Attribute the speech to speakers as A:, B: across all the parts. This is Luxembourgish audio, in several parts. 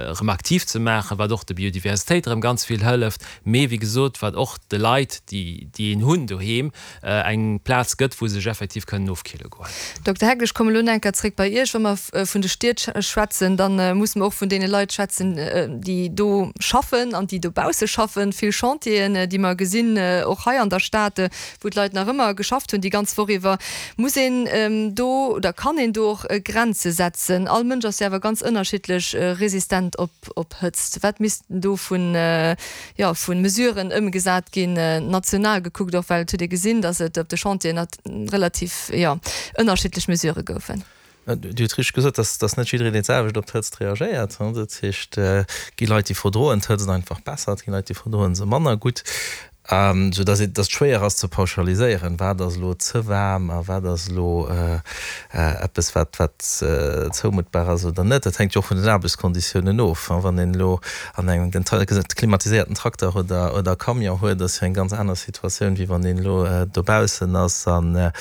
A: Erëm aktiv ze maachen, wat och der Biodiversitéit erëm ganz vill hëlleft, mee wéi gesot, wat och de Leit, déi déi een hunn doheem, eng Plaz gëtt, wou se sech effektiv kënnen ofkille goen.
B: Dokter Heck, ech kommen elo nach eng Kéier zréck bei Iech. Wa mer vun de Stied schwätzen, da musse mer och vun deene Leit schwätzen, déi do schaffen an déi dobausse schaffen. Vill Chantieren, déi mer gesinn, och hei an der Stad, wou d'Leit nach ëmmer geschafft hunn déi ganz Woch iwwer. Muss een do oder kann een do och Grenze setzen? All Mënsch ass jo awer ganz ënnerschiddlech resistent op Hëtzt. Wat missten do vun, jo, vu Mesuren ëmgesat ginn, national gekuckt och, well et huet ee gesinn, datt et op de Chantieren relativ, jo, ënnerschiddlech Mesurë goufen.
C: Dir hutt richteg gesot, dass dass net jiddereen dee selwecht op d'Hëtzt reagéiert. Dat heescht, et gi Leit, déi verdroen d'Hëtzt einfach besser, et gi Leit, déi verdroen se manner gutt, sou dass et dass et schwéier ass ze pauschaliséieren, wat ass elo ze waarm a wat ass elo eppes, wat wat zoumuttbar ass oder net. Dat hänkt jo och vun den Aarbechtskonditiounen of. Wann een elo an engem klimatiséierten Trakter oder oder Camion huet, ass jo eng ganz aner Situatioun, wéi wann een elo dobaussen ass an Dann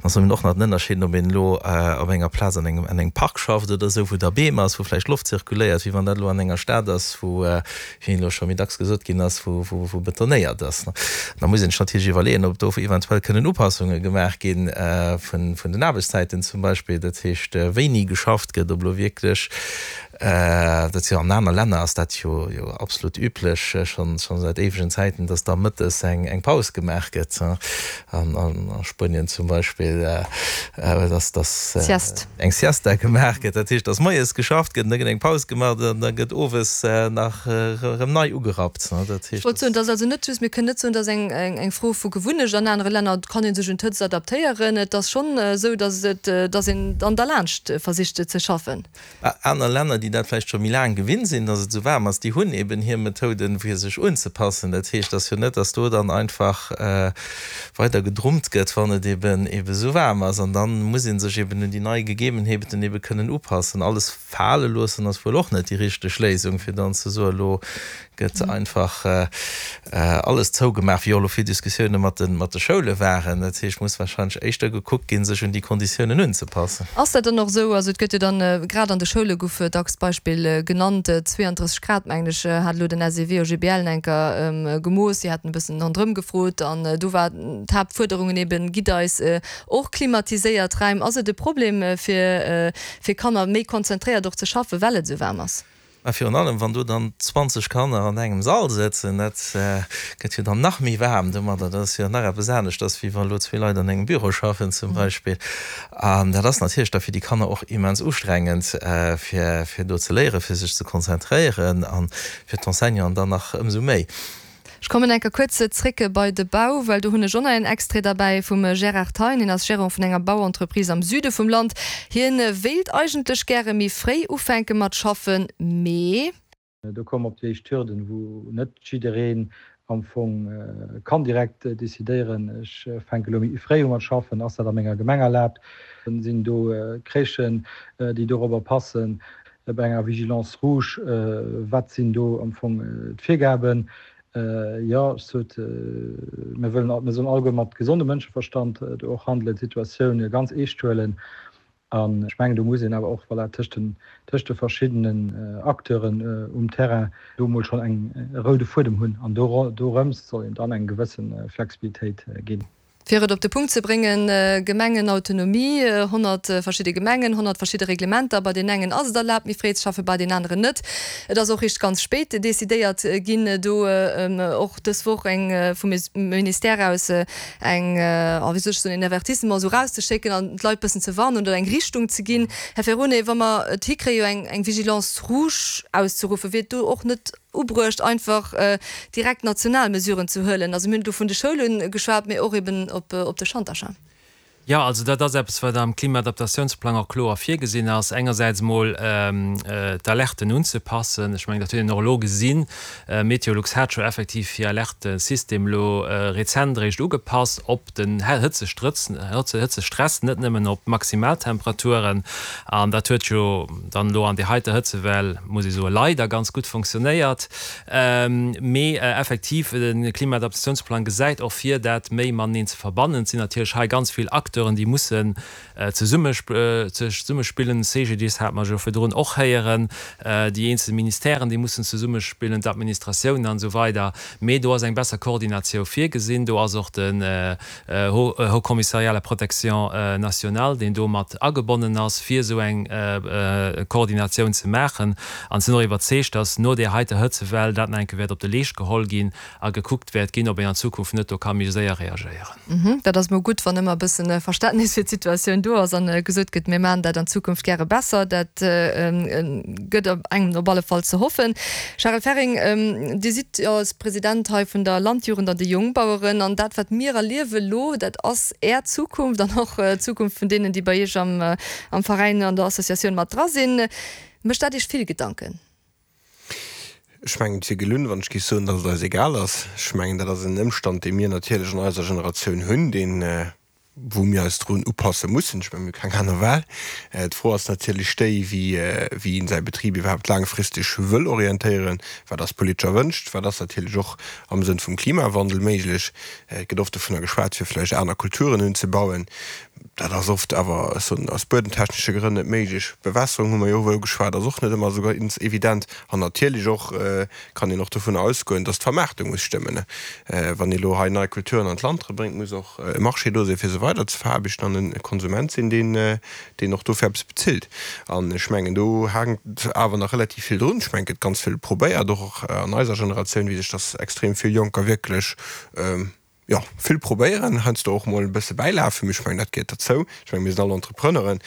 C: ass eben och nach den Ënnerscheed, ob een elo op enger Plaz an engem, an engem Park schafft oder esou, wou da Beem ass, wou vläicht Loft zirkuléiert, wéi wann dat elo an enger Stad ass, wou, wéi elo scho méi dacks gesot ginn ass, wou, wou, wou betonéiert ass. Da muss een sech natierlech iwwerleeën, ob do eventuell kënnen Upassunge gemaach gi vun, vun den Aarbechtszäiten zum Beispill, dat heescht, wéini geschafft gëtt, ob elo wierklech Dat ass jo an aner Länner ass dat jo jo absolut üblech, schonn schonn säit éiwegen Zäiten, dass da mëttes eng eng Paus gemaach gëtt. An a Spuenien zum Beispill, dass dass
B: Sieste.
C: eng Siesta gemaach gëtt. Dat heescht, dass moies geschafft gëtt an da gëtt eng Paus gemaach an da gëtt owes nach erëm nei ugerappt.
B: Dat heescht, Ech wollt soen, et ass also net just, mir kënnen net soen, et ass eng eng Fro vu Gewunnecht. An anere Länner kann ee sech un d'Hëtzt adaptéieren. Et ass schonn esou, dass et dass een dann derlaanscht versicht ze schaffen.
C: Aner Länner, déi dat vläicht scho méi laang gewinnt sinn, datt et esou waarm ass, déi hunn eben hir Methoden, fir sech unzepassen. Dat heescht, et ass jo net, datt do dann einfach weider gedrummt gëtt, wann et eben eben esou waarm ass. An da muss ee sech eben un déi nei Gegebenheeten ebe kënnen upassen. Alles fale loossen ass wuel och net déi richteg Léisung, fir dann ze soen, elo gëtt einfach alles zougemaach, wéi och elo vill Diskussioune mat de Schoule waren. Dat heescht, muss warscheinlech éischter gekuckt ginn, sech un déi Konditiounen unzepassen.
B: Ass dat dann och esou? Also et gëtt jo dann, grad an de Schoule gouf dacks d'Beispill genannt, 32 Grad, mengen ech, hat elo den SEW OGBL enker gemooss. Si haten e bëssen ronderëm gefrot an do war d'Haaptfuerderungen eben, Gitt eis och klimatiséiert Räim. Ass et e Problem fir Kanner méi konzentréiert och ze schaffen, well et esou waarm ass?
C: Mä virun allem, wann do dann 20 Kanner an engem Sall sëtzen, dat gëtt jo dann nach méi waarm domadder. Dat ass jo nach eppes aneschters, wéi wa lo zwee Leit an engem Büro schaffen zum Beispill. An dat ass natierlech da fir déi Kanner och immens ustrengend, fir, fir do ze léieren, fir sech ze konzentréieren a fir d'Enseignanten dann nach ëmsou méi.
B: Ech kommen enker kuerz zréck bei de Bau, well do hunn ech och nach een Extrait derbäi vum Gérard Thein. Hien ass Gérant vun enger Bauentreprise am Süde vum Land. Hien wéilt eigentlech gäre méi fréi ufänke mat schaffen, mee.
D: Do komme mer op déi éischt Hürden, wou net jiddereen am Fong kann direkt decidéieren, ech fänke elo méi fréi u mat schaffen, ass dat a menger Gemeng erlaabt, sinn do Crèchen, déi dorobber passen, Bei enger Vigilance rouge, wat sinn do am Fong d'Virgaben? Jo, ech sot, mir wëllen, mir sollen alleguer mat gesondem Mënscheverstand do och handelen, d'Situatioun ganz eescht huelen. An ech mengen, do muss een awer och, voilà, tëscht den, tëscht de verschiddenen Acteuren um Terrain do emol schonn eng, e roude Fuedem hunn. An dorëms soll een dann eng gewësse Flexibilitéit ginn.
B: Fir et op de Punkt ze bréngen, Gemengenautonomie, 100 verschidde Gemengen, 100 verschidde Reglementer, bei deenen engen ass et erlaabt méi fréi ze schaffen, bei deenen aneren net. Et ass och richt ganz spéit decidéiert ginn, do och dës Woch eng vum Ministère aus eng, oh wéi soll ech soen, een Avertissement esou erauszeschécken an d'Leit bëssen ze warnen oder eng Richtung ze ginn. Här Ferone, wa mer et hikréie eng Vigilance rouge auszeruffen, wier et do och net ubruecht einfach direkt national Mesuren ze huelen. Also mir hunn do vun de Schoule geschwat, mee och eben op de Schantercher.
A: Jo, also dat ass eppes, wat am Klimaadaptatiounsplang och kloer virgesinn ass. Engersäits emol d'Alerten unzepassen. Ech mengen, dat huet een och elo gesinn. Meteolux hat scho effektiv hir Alertesystem elo rezent eréischt ugepasst op den Hëtzestrëtz, Hëtzestress, net nëmmen op d'Maximaltemperaturen. An dat huet jo dann elo an där heiter Hëtzewell, muss ee soen, leider ganz gutt fonctionnéiert. Mee effektiv, de Klimaadaptatiounsplang gesäit och vir, dat méi mateneen ze verbannen. Et sinn natierlech hei ganz vill Acteuren. Acteuren, déi mussen zesummespillen. CGDIS hate mer jo virdrun och héieren. Déi eenzel Ministèren, déi mussen zesummespillen, d'Administratiounen an esou weider. Mee do ass eng besser Koordinatiou virgesinn. Do ass och den Haut Commissariat à la protection nationale, deen do mat agebonnen ass, fir esou eng Koordinatioun ze maachen. An sinn och iwwerzeegt, dass no där heiter Hëtzewell dat nach eng Kéier wäert op de Leescht geholl ginn a gekuckt wäert ginn, ob een an Zukunft net do ka méi séier reagéieren.
B: Dat ass mol gutt, wann ëmmer e bëssen Verständnis fir d'Situatioun do ass an gesot gëtt, mir maachen dat an Zukunft gäre besser. Dat gëtt engem op alle Fall ze hoffen. Charel Ferring, Dir sidd jo als President hei vun der Landjugend an de Jongbaueren an dat wat mir erliewe lo, dat ass Är Zukunft an och d'Zukunft vun deenen, déi bei Iech am Veräin, an der Associatioun mat dra sinn. Mécht dat Iech vill Gedanken?
E: Ech mengen, et wier gelunn, wann ech géif soen, datt et eis egal ass. Ech mengen, dat ass en Ëmstand, dee mir natierlech an eiser Generatioun hunn, deen, wou mir eis drun upasse mussen. Ech mengen, mir hu keng aner Wahl. D'Fro ass natierlech déi, wéi, wéi een säi Betrib iwwerhaapt laangfristeg wëll orientéieren. Wat ass politesch erwënscht? Wat ass natierlech och am Sënn vum Klimawandel méiglech? Et gëtt oft dovunner geschwat, fir vläicht aner Kulturen unzebauen. Dat ass oft awer, ech soen, aus buedemtechnesche Grënn net méiglech. Bewässerung hu mer jo och ugeschwat, ass och net ëmmer esou ganz evident. An natierlech och kann een och dovunner ausgoen, dass d'Vermaartung muss stëmmen. Wann ee elo hei nei Kulturen an d'Land erebréngt, muss och e Marché do sinn, fir se weider ze veraarbechten an e Konsument sinn, deen, deen och dofir eppes bezilt. An ech mengen, do haangt awer nach relativ vill drun. Ech mengen, et gëtt ganz vill probéiert, och an eiser Generatioun weess ech, dass extrem vill Jonker wierklech, Jo, vill probéieren, heiansdo och mol e bësse bäilafen, mee ech mengen, dat gehéiert derzou. Ech mengen, mir sinn all Entrepreneuren.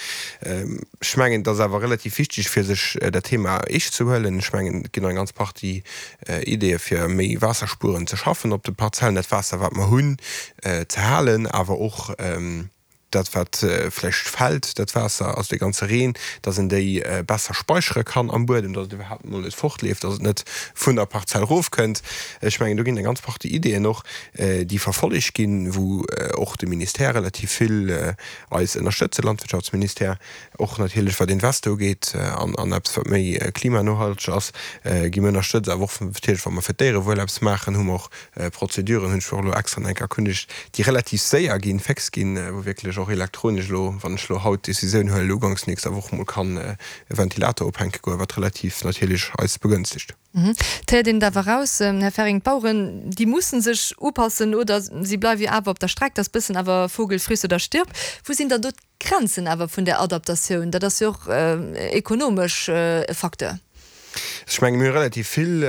E: Ech mengen, et ass awer relativ wichteg, fir sech dat Thema eescht ze huelen. Ech mengen, et ginn och eng ganz Partie Ideeë fir méi waasserspuerend ze schaffen op de Parzellen, dat Waasser, wat mer hunn, ze halen, awer och, dat wat vläicht fält, dat Waasser, also dee ganze Reen, dass een déi besser speichere kann am Buedem, dass et iwwerhaapt mol net fortleeft, dass et net vun der Parzell erofkënnt. Ech mengen, do ginn eng ganz Partie Ideeën och, déi verfollegt ginn, wou och de Ministère relativ vill eis ënnerstëtzt, de Landwirtschaftsministère, och natierlech wat Investor ugeet an eppes wat méi klimanohalteg ass, gi mir ënnerstëtzt. Awer och natierlech, wa mer fir d'Déierewuel eppes maachen, hu mer och Prozeduren hunn ech och elo extra nach eng Kéier erkundegt, déi relativ séier ginn, féx ginn, wou wierklech och elektronesch elo, wann ech elo haut d'Decisioun huelen, uganks nächster Woch mol kann e Ventilator ophänke goen, wat relativ natierlech eis begënstegt.
B: Et héiert een et awer eraus, Här Ferring, d'Baueren, déi mussen sech upassen oder si bleiwe jo awer op der Streck. Dat ass bëssen awer Vogel friss oder stirb. Wou sinn dann do Grenzen awer vun där Adaptatioun, dat ass jo och ekonomesch e Facteur.
E: Ech menge mir hu relativ vill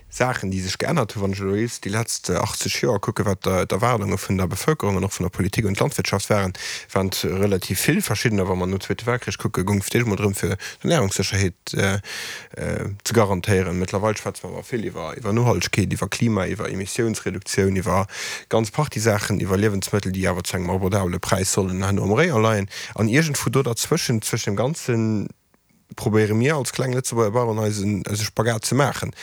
E: Saachen, déi sech geännert hunn. Wann ech elo just déi letzt 80 Joer kucken, wat d'Erwaardunge vun der Bevëlkerung an och vun der Politik un d'Landwirtschaft waren, waren et relativ vill verschiddener. Wa mer nom Zweete Weltkrich kucken, goung et fir d'éischt emol drëm, fir d'Ernärungssécherheet ze garantéieren. Mëttlerweil schwätze mer awer vill iwwer iwwer Nohaltegkeet, iwwer Klima, iwwer Emissiounsreduktioun, iwwer ganz Partie Saachen, iwwer Liewensmëttel, déi awer zu engem abordabele Präis sollen herno am Rayon leien. An iergendwou do derzwëschent, zwëschen deem Ganzen, probéiere mir als kleng Lëtzebuerger Baueren eisen eise Spagat ze maachen.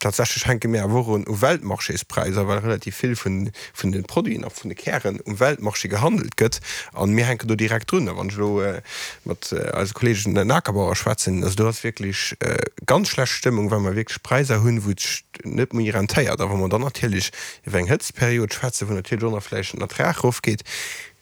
E: Tatsächlech hänke mir awer och un u Weltmarchéspräisser, well relativ vill vun vun de Produiten a vun de Kären um Weltmarché gehandelt gëtt a mir hänken do direkt drun. A wann ech elo mat eise Kollegen den Akerbauer schwätzen, also do ass wierklech ganz schlecht Stëmmung, well mer wierklech Präisser hunn, wou et sech net méi rentéiert. A wa mer dann natierlech iwwer eng Hëtztperiod schwätzen, wou natierlech och nach vläicht den Ertrag erofgeet,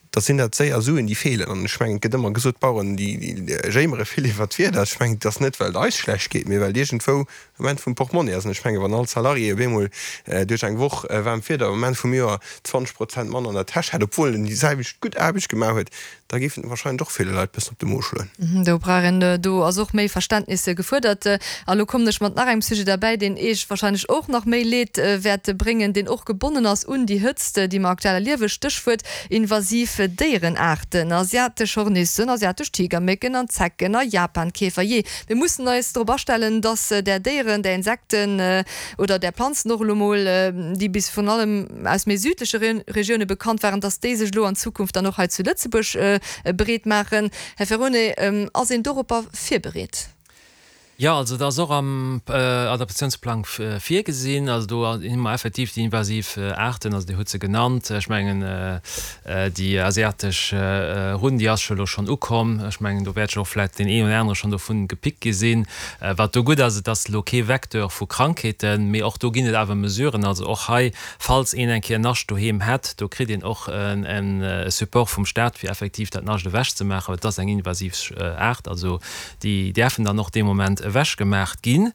E: da sinn dat séier Suen, déi feelen. An ech mengen, et gëtt ëmmer gesot, d'Baueren, déi jéimere vill iwwert d'Wieder. Ech mengen, et ass net, well et eis schlecht geet, mee well et iergendwou um Enn vum Portmonni ass. An ech mengen, wann all Salarié op eemol duerch eng Woch waarmt Wieder um Enn vum Joer 20 Prozent manner an der Täsch hätt, obwuel en déi selwecht gutt Aarbecht gemaach huet, da géifen et warscheinlech och ville Leit bëssen op de Mo schloen.
B: Do brauch een, do ass och méi Verständnis gefuerdert. A lo kommen ech mat nach engem Sujet derbäi, deen Eech warscheinlech och nach méi Leed wäert bréngen, deen och gebonnen ass un déi Hëtzt, déi mer aktuell erliewen, Stéchwuert invasiv Déierenaarten, asiatesch Hornissen, asiatesch Tigermécken an Zecken a Japankäfer. Jee, mir mussen eis drop astellen, dass där Déieren, där Insekten oder där Planzen och elo mol, déi bis virun allem aus méi südleche Regioune bekannt waren, dass déi sech elo an Zukunft dann och hei zu Lëtzebuerg bereet maachen. Här Ferone, ass een doropper virbereet?
A: Jo, also dat ass och am Adaptatiounsplang virgesinn. Also do hu mer effektiv déi invasiv Aarten, also Dir hutt se genannt. Ech mengen, déi asiatesch Runn, déi ass jo elo schonn ukomm. Ech mengen, do wäert jo och vläicht deen een oder anere schonn dovun gepickt gi sinn. Wat do gutt ass, et ass elo kee Vecteur vu Krankheeten, mee och do ginn et awer Mesuren. Also och hei, falls een eng Kéier en Nascht doheem hätt, do kritt een och e Support vum Staat, fir effektiv dat Nascht ewechzemaachen, well et ass eng invasiv Aart. Also Déi däerfen dann och dee Moment ewechgemaach ginn.